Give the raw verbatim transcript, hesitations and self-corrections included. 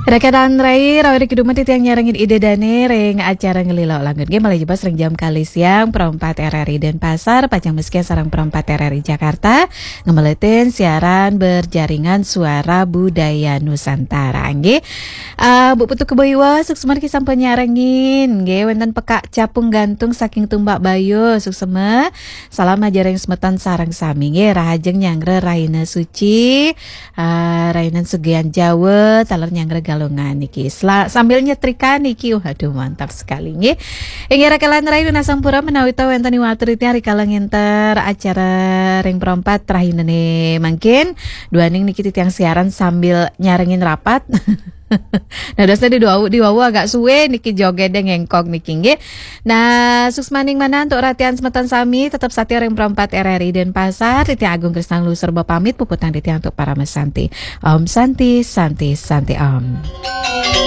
Rakanan rai, rawi ri keduman titiang nyarengin Ida Dane ring acara Ngelila Langun. Nggih, malih jebos ring jam kalih siang, Pro empat R R I Denpasar, pacang masikian sareng Pro empat R R I Jakarta, ngemeletin siaran berjaringan Suara Budaya Nusantara. Nggih. Ah, Bu Putu Kebo Iwa, suksma niki sampun nyarengin. Nggih, wenten Pekak Capung Gantung saking Tumbak Bayu, suksma. Salam aja ring semeton sareng sami. Nggih, rahajeng nyanggra rahina suci. Ah, rahina Sugian Jawa, taler nyanggra Galungan niki. Sela-, sambil nyetrika niki. Waduh, mantap sekali nggih. Inggih, rakanan rai, nunas sampura menawi ta wenten watur titiang rikala ngenter acara ring Pro empat rahinane mangkin. Duaning niki titiang siaran sambil nyarengin rapat. Nah, dasar di dua, di wawu agak suwe niki joget deh ngengkok niki nggih. Nah, suksmaning manah untuk ratian semeton sami, tetep satia ring Pro empat R R I Denpasar, titiang Agung Krisna Luserba pamit, puputang titiang untuk Parama Santi. Om Santi, Santi, Santi Om.